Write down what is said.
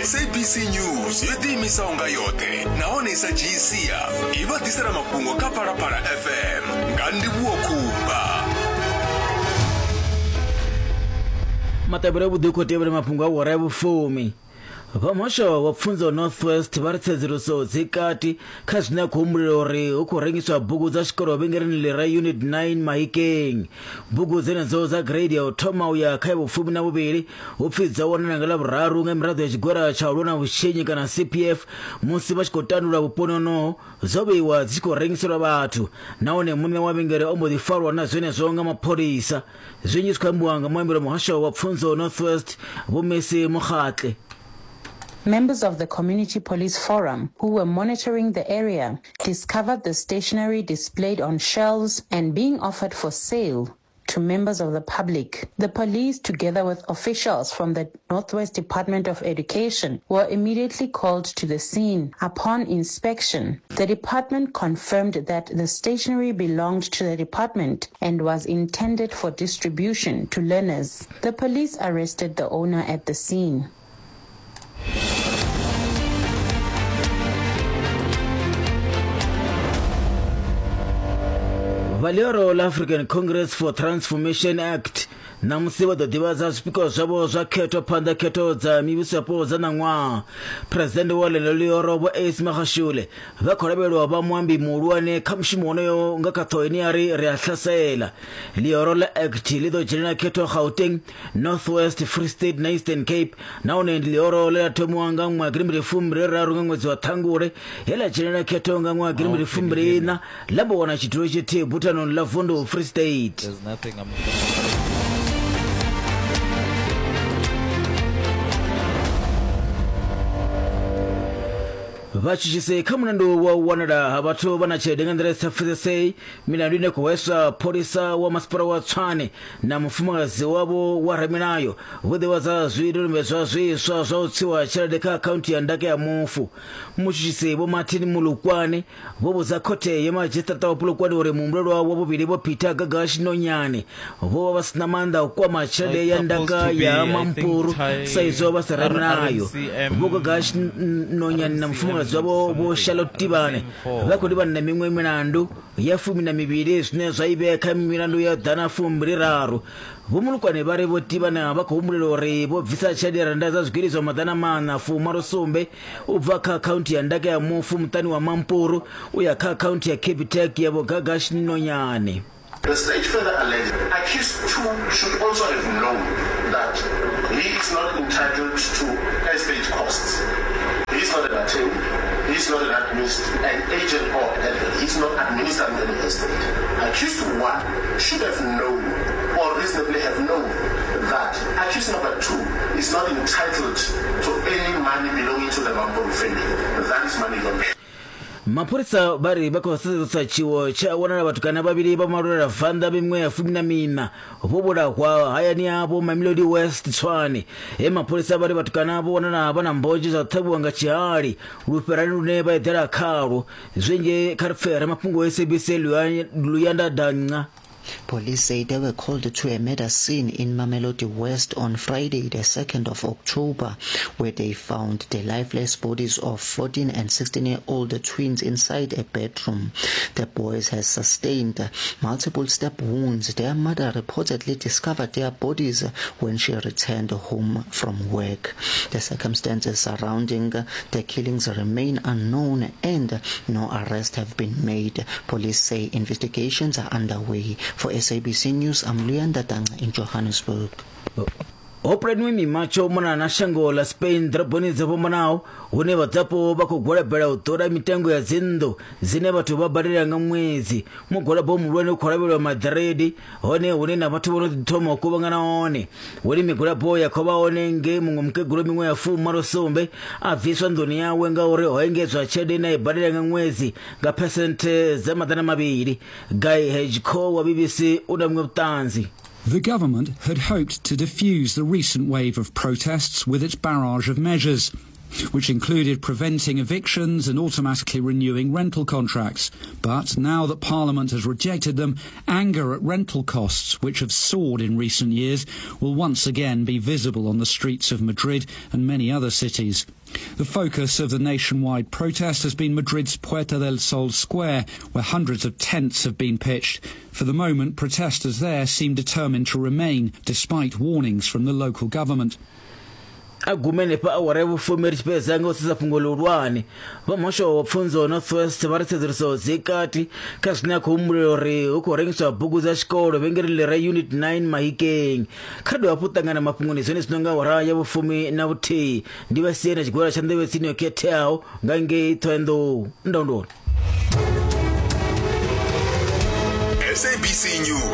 SABC News yo ḓiimisaho nga yoṱhe nahone i sa dzhii sia i vha ḓisela mafhungo kha Phalaphala FM nga Ndivhuwo Khumba. Maṱavhelo avhuḓi u khou tevhela mafhungo a wara ya vhufumi. Vha muhasho wa pfunzo North West vha ri tsedzuluso dzi kati kha zwine a khou humbulela uri hu khou rengiswa bugu dza tshikolo vhengeleni ḽi re Unit 9 Mahikeng. Bugu dzenedzo dza grade ya u thoma u ya kha ya vhufumi na vhuvhili hu pfi dzo wanala nga Ḽavhuraru nga miraḓo ya tshigwada tsha u lwa na vhutshinyi kana CPF musi vha tshi khou tandula vhuponi honoho dzo vheiwa dzi tshi khou rengiselwa vhathu nahone muṋe wa vhengele o mbo ḓi farwa na zwenezwo nga mapholisa. Zwinzhi zwi khou ambiwa nga muambeli wa muhasho wa pfunzo North West Vho Mercy Mokgatle. Members of the Community Police Forum, who were monitoring the area, discovered the stationery displayed on shelves and being offered for sale to members of the public. The police, together with officials from the Northwest Department of Education, were immediately called to the scene. Upon inspection, the department confirmed that the stationery belonged to the department and was intended for distribution to learners. The police arrested the owner at the scene. Vha ḽioro ḽa African Congress for Transformation Act ṋamusi vha ḓo ḓivhadza zwipikwa zwavho zwa khetho phanḓa khetho dza mivhuso yapo dza ṋaṅwaha. Phresidennde wa ḽeneḽo ḽioro Vho Ace Magashule vha khou lavhelelwa vha muambi muhulwane kha mushumo wonoyo nga kha ṱhoho ine ya ri Ri a Hlasela. Ḽioro ḽa Act ḽi ḓo dzhenela khetho Gauteng, North West, Free State na Eastern Cape nahone ndi ḽioro ḽe ḽa thomiwa nga ṅwaha gidimbili fumbili raru nga ṅwedzi wa Ṱhangule he ḽa dzhenela khetho nga ṅwaha gidimbili fumbili iṋa ḽa mbo wana tshidulo tshithihi buthanoni ḽa vundu Free State. There's nothing I'm Vhatshutshisi kha mulandu wa u wanala ha vhathu vha na tshelede nga nḓila i sa pfesesei milandu ine khou hweswa pholisa wa masipala wa Tshwane na mufumakadzi wavho wa ramilayo vho ḓivhadza zwidodombedzwa zwiswa zwa u tswiwa tshelede kha akhaunthu ya ndaka ya mufu. Mutshutshisi Vho Martin Mulukwane vho vhudza khothe ya madzhisiṱiraṱa wa Polokwane uri muhumbulelwa wa vhuvhili Vho Peter Gagash Nonyane vho vha vha si na maanḓa a u kwama tshelede ya ndaka ya Mampuru sa izwo vha sa ramilayo. Vho Gagash Nonyane na mufumakadzi wavho Vho Charlotte Tibane vha khou livhana na miṅwe milandu ya fumi na mivhili zwine zwa i vhea kha milandu ya ḓana fumbili raru. Vho Mulukwane vha ri Vho Tibane vha khou humbulela uri vho bvisa tshelede ya rannda dza zwigidi zwa maḓana maṋa fumalo sumbe u bva kha akhaunthu ya ndaka ya mufu muṱani wa Mampuru u ya kha akhaunthu ya Capitec ya Vho Gagash Nonyane. The state further alleged accused two should also have known that he is not entitled to estate costs. He is not an attorney, he is not an administ an agent or he is not administering any estate. Accused one should have known or reasonably have known that accused number 2 is not entitled to any money belonging to the Mampuru family. That is money laundering. Mapholisa vha ri vha khou sedzulusa tshiwo tshe a wanala vhatukana vhavhili vha malwela vanḓa miṅwe ya fumi na miṋa vho vhulahwa hayani havho Mamelodi West Tshwane. He mapholisa vha ri vhatukana vho wanala vha na mbonzhe zwa u ṱhavhiwa nga tshihali lufherani lune vha eḓela khalwo. Zwinzhi kha ri pfe ramafhungo wa SABC Luyanda Danca. Police say they were called to a murder scene in Mamelodi West on Friday, the 2nd of October, where they found the lifeless bodies of 14 and 16-year-old twins inside a bedroom. The boys had sustained multiple stab wounds. Their mother reportedly discovered their bodies when she returned home from work. The circumstances surrounding the killings remain unknown and no arrests have been made. Police say investigations are underway. For SABC News, I'm Luyanda Danga in Johannesburg. Ho pulaniwe mimatsho u mona na shango ḽa Spain ḓoroboni dzo fhambanaho hune vhadzulapo vha khou gwalabela u ṱola mitengo ya dzinnḓu dzine vhathu vha badela nga ṅwedzi. Mugwalabo muhulwane u khou lavhelelwa Madrid hone hune na vhathu vho no ḓi thoma u kuvhangana hone. Hune migwalabo ya khou vha hone nge muṅwe mukegulu miṅwe ya fumalo sumbe a bviswa nḓuni yawe ngauri ho engedzwa tshelede ine a i badela nga ṅwedzi nga phesenthe dza maḓana mavhili. Guy Hedgecoe wa BBC u na vhuṅwe vhuṱanzi. The government had hoped to defuse the recent wave of protests with its barrage of measures. which included preventing evictions and automatically renewing rental contracts. But now that Parliament has rejected them, anger at rental costs, which have soared in recent years, will once again be visible on the streets of Madrid and many other cities. The focus of the nationwide protest has been Madrid's Puerta del Sol Square, where hundreds of tents have been pitched. For the moment, protesters there seem determined to remain, despite warnings from the local government. A gume henefha awara ya vhufumi ri tshi fhedza nga u sedza fhungo ḽihulwane. Vha muhasho wa pfunzo North West vha ri tsedzuluso dzi kati kha zwine a khou humbulela uri hu khou rengiswa bugu dza tshikolo vhengeleni ḽi re Unit 9 Mahikeng. Kha ri dovhe hafhu ṱangana mafhungoni zwenezwino nga awara ya vhufumi na vhuthihi. Ndi vha sie na tshigwada tsha nḓevhe tsini yo khetheaho nga ngei Thohoyandou. Ndondoni. SABC News.